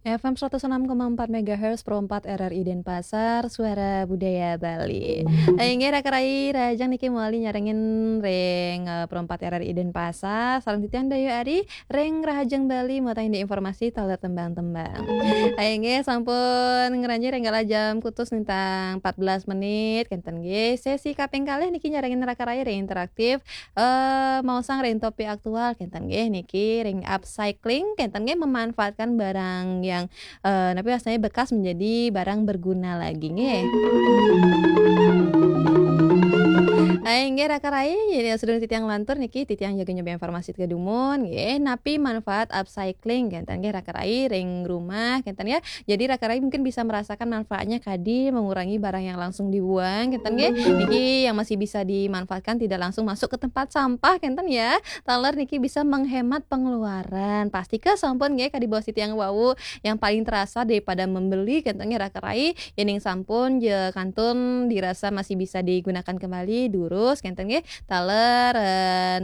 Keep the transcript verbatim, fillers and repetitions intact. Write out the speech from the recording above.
F M seratus enam koma empat megahertz Pro empat R R I Denpasar, Suara Budaya Bali. Inggih, raka rai, rahajeng niki mawali nyarengin ring, eh, Pro empat R R I Denpasar, sareng titiang Dayu Ari, ring Rahajeng Bali, mawali indik informasi taler tembang-tembang. Inggih, sampun ngranjing ring galah jam kutus nintang empat belas menit, kenten nggih. Sesi kaping kalih niki nyarengin raka rai ring interaktif, eh, maosang ring topik aktual, kenten nggih, niki ring upcycling, kenten nggih, memanfaatkan barang yang, eh, napi wastannya bekas menjadi barang berguna lagi nggih. Hai, nggih, raka rai, jadi sadurung titiang lantur niki, titiang jaga nyoba informasi tiga dumun nggih, napi manfaat upcycling, kenten nggih, raka rai, ring rumah, kenten ya. Jadi raka rai mungkin bisa merasakan manfaatnya kadi mengurangi barang yang langsung dibuang, kenten nggih. Niki yang masih bisa dimanfaatkan tidak langsung masuk ke tempat sampah, kenten ya. Taler niki bisa menghemat pengeluaran. Pastika sampun nggih kadi bos titiang wau, yang paling terasa daripada membeli, kenten nggih, raka rai, yening sampun ja kantun dirasa masih bisa digunakan kembali, durus, kenten nggih. Taler, eh,